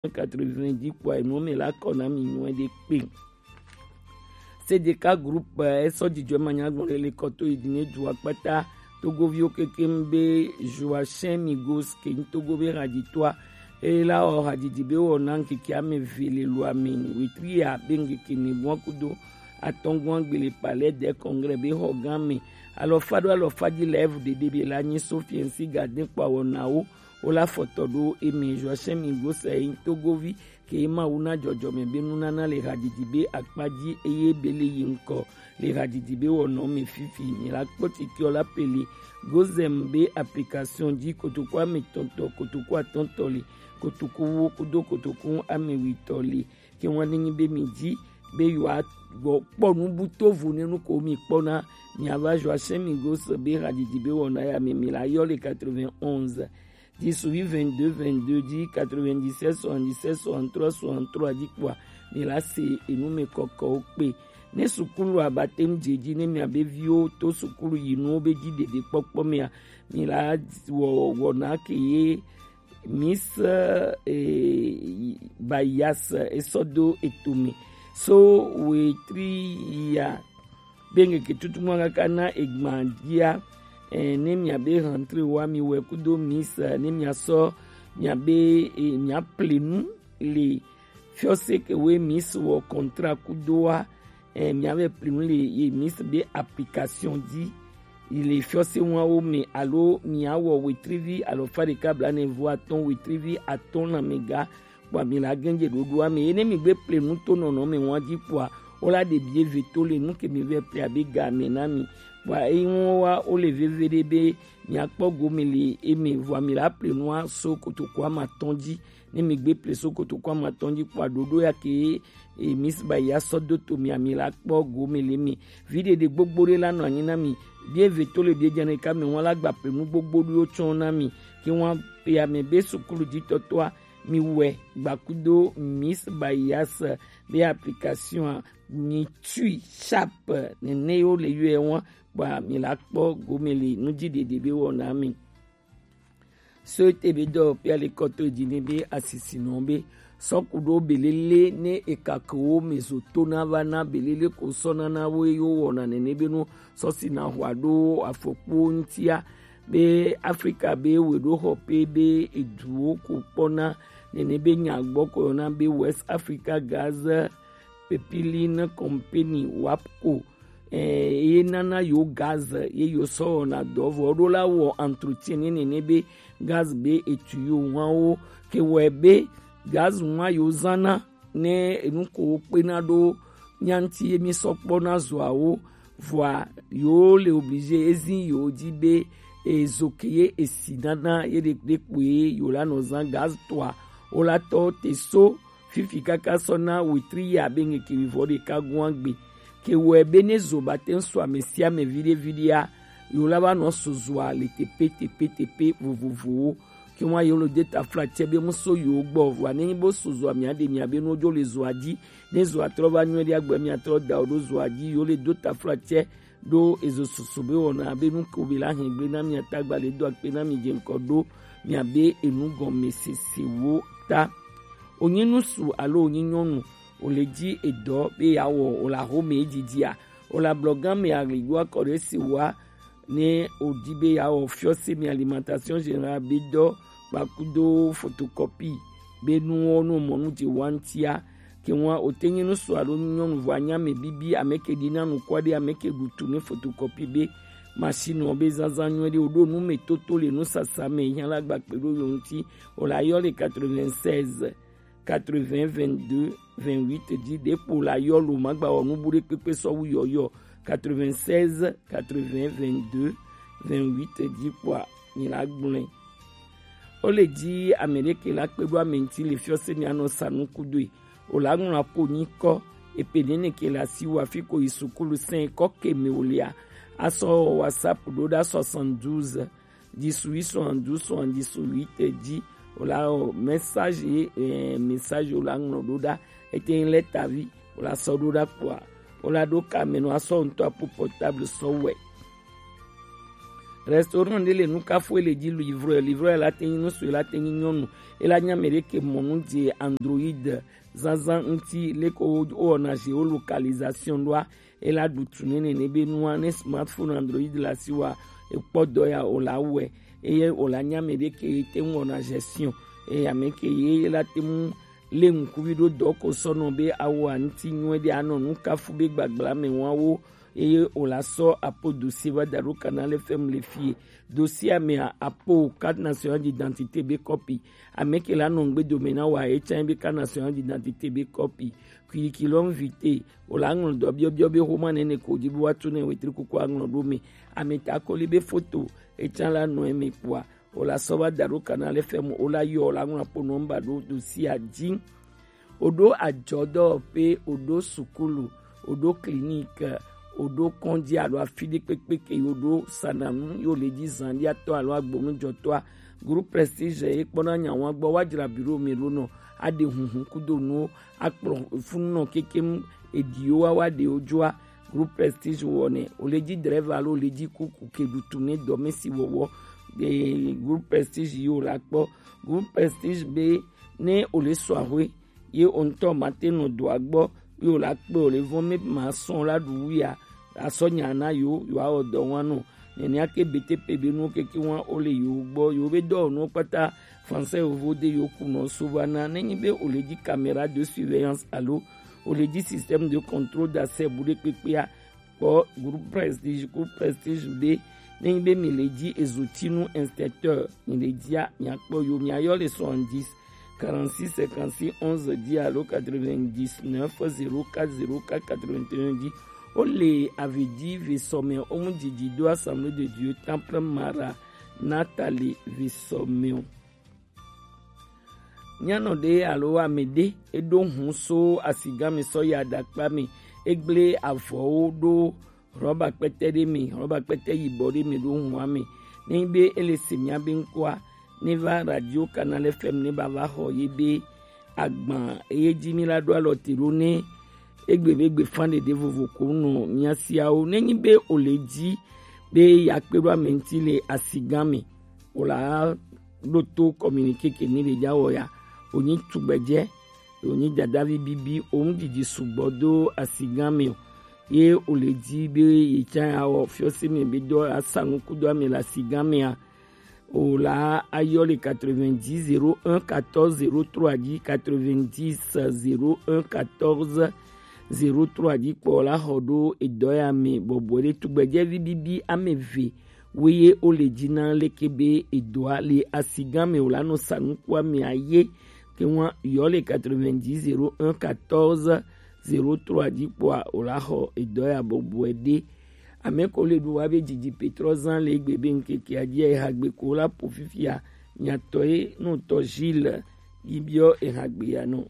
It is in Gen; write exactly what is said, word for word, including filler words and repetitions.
quatre-vingts dix kpɔa, enu mɛ la kɔ na mi nyuie ɖe kpe. C D K groupe, eh, esɔ dzidzɔ ma nya gbɔn le kɔto yi dine dua kpata. Togoviwo keke be Joachim Migos ke nyi Togo be hadzitɔa. Ela wɔ hadzidzi be wɔ na ŋkeke ame ve le lua me, wetri ya be ŋkeke ne bua kudo atɔngua gbe le Palais des Congrès be xɔ gã me. Alɔfa ɖo alɔfa dzi live ɖeɖe be la nyi Sofiensi Gadin kpa wɔnawo. Wo la fɔtɔ ɖo eme Joachim Migos yi Togovi ke Mawu na dzɔdzɔme be nunana le hadzidzi be akpa dzi eye be le yi ŋkɔ le hadzidzi be wɔnɔ me fifi. Mi la kpɔ titiɔ la pele Gozem be application dzi kotoku ame tɔntɔ, kotoku atɔntɔ le, kotoku wo kudo kotoku ame witɔ le. Ke ŋua ne nyi be mi dzi be yewoa gbɔ kpɔ nu bu to vo ne nu ko mi kpɔna, mi ava Joachim Migos be hadzidzi be wɔna ya me mi la yɔ le quatre-vingt-onze dix-huit vingt-deux vingt-deux dzi, quatre-vingt-dix-sept soixante-dix-sept soixante-trois soixante-trois dzi kpɔa, mi la se enu me kɔkɔwo kpe. Ne sukulu abate ŋdze dzi ne mia be viwo to sukulu yi nuwo be dzi ɖeɖe kpɔkpɔ mea, mi la wɔ wɔna ke ye Miss, eh, Bayas esɔ do etome. So wetri ya be ŋkeke tutu mɔ kaka na egba dia, eh, ne mia be rentrée wa mi wɛ kudo Miss, eh, ne mia sɔ mia be, eh, mia plenu le fiɔse ke we Miss wɔ contrat kudo wa, eh, mia be plenu le ye Miss be application di. Yi le fiɔse wawo me alo mia wɔ wetrivi alɔfa ɖeka blaene vo atɔn wetrivi atɔn na mega kpɔa mi la gɛnje ɖoɖoa me. Ene mi gbe plenu to nɔnɔ me wa di kpɔa, wo la ɖe bie ve to le nu ke mi vɛ ple abe ga me na mi. Kpɔa eyi ŋu wa wo le veve ɖe be mia kpɔ gome le eme vɔa mi la plenua so kotoku ama tɔn dzi. Ne mi gbe ple so kotoku ama tɔn dzi kpɔa ɖoɖo ya ke, e, Miss Baya sɔ do to mi ami la kpɔ gome le mi. Vi ɖeɖe gbogbo ɖe la nɔ anyi na mi. Bie ve to le bie djane ka mi wa la gba plenu gbogbo ɖo tsɔ na mi. Ke wa pe ame be sukulu dzi tɔtɔa mi wɛ gbakudo Miss Bayas be application a mi tui sharp nene yo le yɔe wa kpɔa mi la kpɔ gome le nu dzi ɖeɖe be wɔna mi. So te be dɔ pe ale kɔtɔ dzi ne be asisinɔ be sɔku ɖo belele ne ekakewo me zo to na va na belele ko sɔ na na wo ye wo wɔna nene be nu sɔ si na hwa ɖo afɔkpo ŋutia be Afrika be we ɖo xɔ pe be eduwo ko kpɔna nene be nya gbɔ ko yɔna be West Africa Gas Pipeline Company, wapco, eh, ye nana yo gaz ye yo sɔ wɔna dɔ vɔ ɖo la wɔ entretien ne nene be gaz be etu yo ŋua wo ke wɔ be gaz ŋua yo zana ne enu ko wo kpena ɖo nyanti ye mi sɔ kpɔ na zoawo vɔa yo le obligé ezi yo dzi be ezo ke ye esi nana ye ɖe ɖe kpoe yo la nɔ zan gaz tɔa wo la tɔ te so fifi kaka sɔ na wetri ya be ŋkeke wivɔ ɖeka gua gbe. Ke wɔe be ne zo ba te ŋu sɔ ame sia ame viɖe viɖea, yo la va nɔ so zoa le tepe tepe tepe vovovowo. Ke wa yo lo de taflatsɛ be mu so yo gbɔ vɔa ne nyi bo so zoa mia ɖe mia be nu dzo le zoa dzi. Ne zoa trɔ va nyuie ɖe agbe mia trɔ da o ɖo zoa dzi yo le do taflatsɛ ɖo ezo susu be wɔna be nu ko be la hɛn gble na mia tagba le do akpe na mi dze ŋkɔ ɖo mia be enu gɔme sese wo ta. Onyi nusu alo onyi nyɔnu o le dzi edɔ be ya wɔ o la xome dzidzia o la blɔ gã me agligo akɔ ɖe si wa ne o di be ya wɔ fiɔse mi alimentation générale be dɔ kpakudo photocopie be nuwo no mɔ nu dze wa ŋutia. Ke ŋua o te nye nusu alo nyɔnu vɔ anya me bibi ame ke ɖi na nukua ɖe ame ke ɖu tu ne photocopie be machine be zazã nyuie ɖe o ɖo nu me toto le nusasa me hiã la gba kpe ɖo yo ŋuti o la yɔ le quatre-vingt-seize quatre-vingts vingt-deux vingt-huit dzi ɖe kpo la yɔ lo ma gba wɔ nu bu ɖe kpekpe sɔ wu yɔyɔ quatre-vingt-seize quatre-vingts vingt-deux vingt-huit dzi kpɔa mi la gblɔe. O le dzi ame ɖe ke la kpe ɖo ame ŋuti le fiɔse mi anɔ sa nu kudoe o la ŋlɔ apo nyi kɔ epe nene ke la si wa fi ko yi sukulu sɛn kɔ ke me o lia asɔ WhatsApp ɖo ɖa soixante-douze dix-huit soixante-douze soixante-dix-huit dzi o la o message ye eh, message o la ŋlɔ ɖo ɖa ete ŋu lɛ tavi o la sɔ ɖo ɖa kpɔa o la ɖo ka me nɔ asɔ ŋutɔ apo portable sɔ wɛ. Restaurant ɖe le nu kafu ele dzi livreur, livreur la te nyi ŋutsu, la te nyi nyɔnu, ela nya ame ɖe ke mɔ nu dze Android zazã ŋuti, leke wo wɔna géolocalisation ɖoa, ela ɖu tu nɛ nene be nua ne smartphone Android le asiwòa, ekpɔ dɔ ya o la wɔe, eye o la nya ame ɖe ke te ŋu wɔna gestion, eye ame ke ye la te ŋu lé ŋkuvi ɖo dɔ ko sɔ nɔ be awo aŋuti nyuie ɖe anɔ nu kafu be gbagbla me wawo, eye o la sɔ apo dossier va da ɖo Canal F M le fie. Dossier mea, apo carte nationale d'identité be kɔpi. Ame ke la nɔ ŋgbe dome na wa, e can be carte nationale d'identité be kɔpi. Curriculum vitae, o la ŋlɔ dɔ biɔbiɔ be xoma nene ko di be wa tu ne wetri kuku aŋlɔ ɖo me. Ame ta koli be foto, e can la nɔ eme kpɔa, o la sɔ va da ɖo Canal F M, o la yɔ, o la ŋlɔ apo nɔmba ɖo dossier dzi. O ɖo adzɔdɔwɔƒe, o ɖo sukulu, o ɖo clinique, o ɖo kɔdzi alo afi ɖe kpekpe ke yo ɖo sananu yo le dzi zan ɖi atɔ alo agbonu jɔtɔa. Groupe Prestige ye kpɔna nya wa gbɔ, wa dzra bureau me ɖo nɔ, aɖe hunhun kudo nuwo, akplɔ funu nɔ kekem, eɖiwo wa wa ɖe wo dzoa. Groupe Prestige wɔnɛ, o le dzi driver alo o le dzi kuku ke ɖutu ne dɔmesi wɔwɔ. E, Groupe Prestige yi o la kpɔ. Groupe Prestige be ne o le sɔ ahwe, ye o ŋutɔ ma te nɔ doa gbɔ, ye o la kpe o le vɔn me ma sɔn la ɖu wuya, asɔ nya na yo, yo awɔ dɔ wa nɔ. Nenea ke B T P be nuwo keke wa o le yo gbɔ, yo be dɔwɔnuwo kpata, français yovo de yo kunɔ so va na. Ne nyi be o le dzi caméra de surveillance alo o le dzi système de contrôle d'accès bu ɖe kpekpea, kpɔ Groupe Prestige, Groupe Prestige be, ne nyi be mi le dzi ezotinu inspecteur, mi le dzia, mi akpɔ yo, mi ayɔ le soixante-dix, quarante-six, cinquante-six, onze dzi alo quatre-vingt-dix-neuf, zéro quatre, zéro quatre, quatre-vingt-un dzi. O le avi dzi ve sɔ me, o mu dzidzi do Assemblée de Dieu Temple Mara Nathalie ve sɔ me o. Nyanɔ ɖe alo ame ɖe, eɖo hun so asigã me sɔ yi aɖakpa me, egble avɔwo ɖo rɔba kpɛtɛ ɖe me, rɔba kpɛtɛ yibɔ ɖe me ɖo hua me. Ne nyi be ele se mia be ŋkɔa, ne va Radio Canal F M ne ba va xɔ ye be agban eye dzi mi la ɖo alɔ te ɖo ne egbe be gbe fan ɖeɖe vovo ko nɔ mia siawo. Ne nyi be o le dzi be ya kpe ɖo ame ŋuti le asigã me, o la ɖo to communiqué ke ni le dza wɔ ya. O nyi tugbedzɛ, o nyi dadavi bibi, o ŋu didi sugbɔ do asigã me o. Ye o le dzi be ye tsa ya wɔ fiɔse me be dɔ asa ŋku do ame le asigã mea, o la ayɔ le quatre-vingt-dix zéro un quatorze zéro trois dzi, quatre-vingt-dix zéro un quatorze zéro trois dzi kpɔ la xɔ ɖo edɔ ya me bɔbɔe ɖe. Tugbedzɛvi bibi ame eve woye wo le dzi na leke be edɔa le asigã me o la nɔ sa nuku ame aye ke ŋua yɔ le quatre-vingt-dix zéro un quatorze zéro trois dzi kpɔa o la xɔ edɔ ya bɔbɔe ɖe. Ame ko le ɖu wa be dzidzi Petrɔ zã le egbe be ŋkekea dzi ya eha gbe ko la po fifia nyatɔ ye nɔ tɔ Gilles yi biɔ eha gbe ya nɔ.